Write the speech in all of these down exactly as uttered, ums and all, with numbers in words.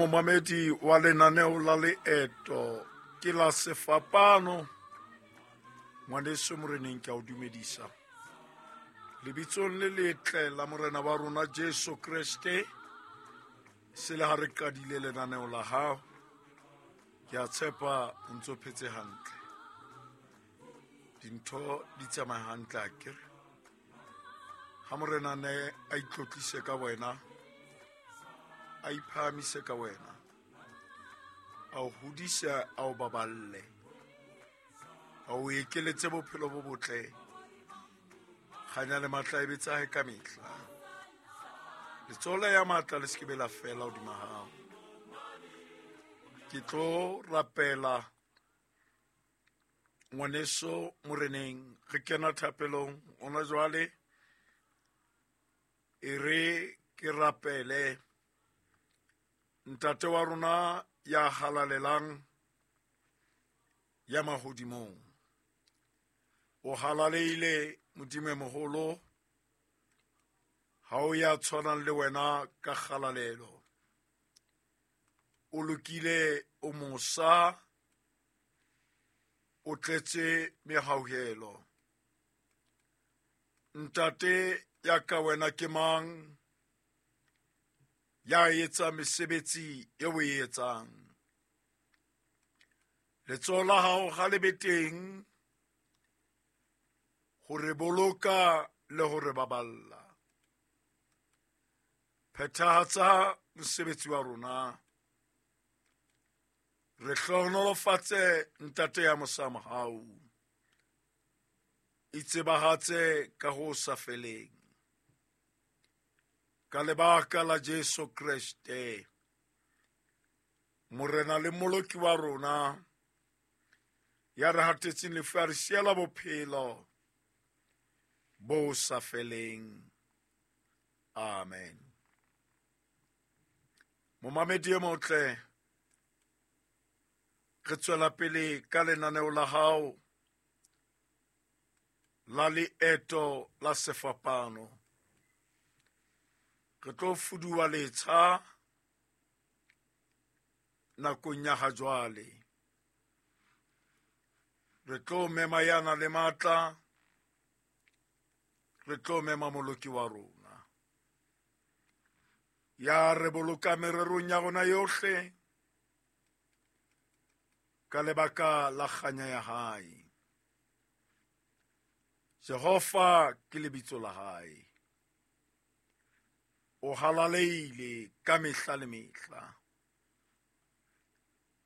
Momamedi wa lenaneo la leeto ke la sefapano, ngwaneso moreneng ke a o dumedisa. Lebitsong le letle la morena wa rona Jesu Kreste, se le ha re qadile lenaneo la hao, ke a tshepa o ntso phetse hantle. Dintho di tsamaya hantle akere. Ha morena ne a itlotlise ka wena, a iphahamise ka wena, a o hodise, a o baballe, a o ekeletse bophelo bo botle, kganya le matla e be tsa hae ka mehla. Letsoho la ya matla le se ke be la fela hodima hao. Ke tlo rapela ngwaneso moreneng, re kena thapelong hona jwale. E re ke rapele Ntate wa rona ya halalelang ya mahodimong. O halaleile Modimo e moholo, ha o ya tshwanang le wena ka kgalalelo. O lokile, o mosa, o tletse mehauhelo. Ntate ya ka wena ke mang ya etsa mesebetsi eo o e etsang? Letsoho la hao ha le be teng ho re boloka le ho re baballa. Phethahatsa mosebetsi wa rona. Re hlohonolofatse Ntate ya mosa mohau. Itsebahatse ka ho sa feleng. Ka lebaka la Jesu Kreste, Morena le Moloki wa rona, ya re hatetseng lefu a re siela bophelo bo sa feleng. Amen. Momamedi e motle, re tswela pele ka lenaneo la hao la leeto la sefapano. Re tlo fuduwa letsha nakong ya ha jwale. Re tlo mema yana le matla, re tlo mema Moloki wa rona ya re boloka mererong ya rona yohle ka lebaka la kganya ya hae. Jehova ke lebitso la hae. O halaleile ka mehla le mehla.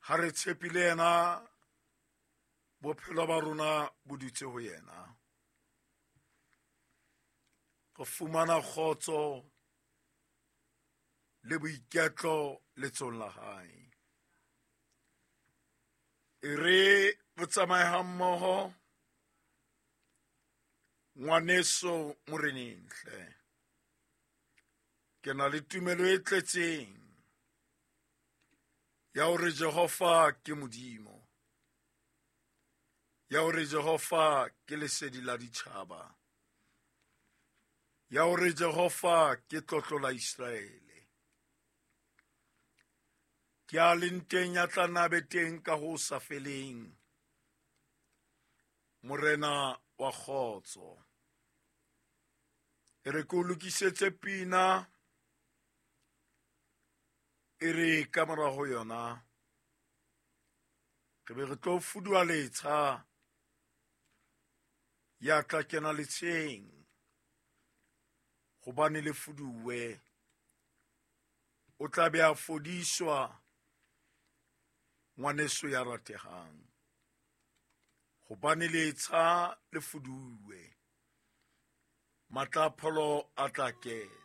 Ha re tshepile yena, bophelo ba rona bo dutse ho yena. Re fumana kgotso le boiketlo letsong la hae. E re re tsamaye hammoho, ngwaneso moreneng hle. Ke na le tumelo e tletseng ya hore Jehova ke Modimo, ya hore Jehova ke lesedi la ditjhaba, ya hore Jehova ke tlotlo la Iseraele. Ke a leng teng ya tla nna be teng ka ho sa feleng, Morena wa kgotso. E re ke o lokisetse pina, e re ka mora ho yona re be re tlo fuduwa letsha, ya tla kena letsheng hobane le fuduwe. O tla be a fodiswa, ngwaneso ya ratehang, hobane letsha le fuduwe. Matla a pholo a tla kena.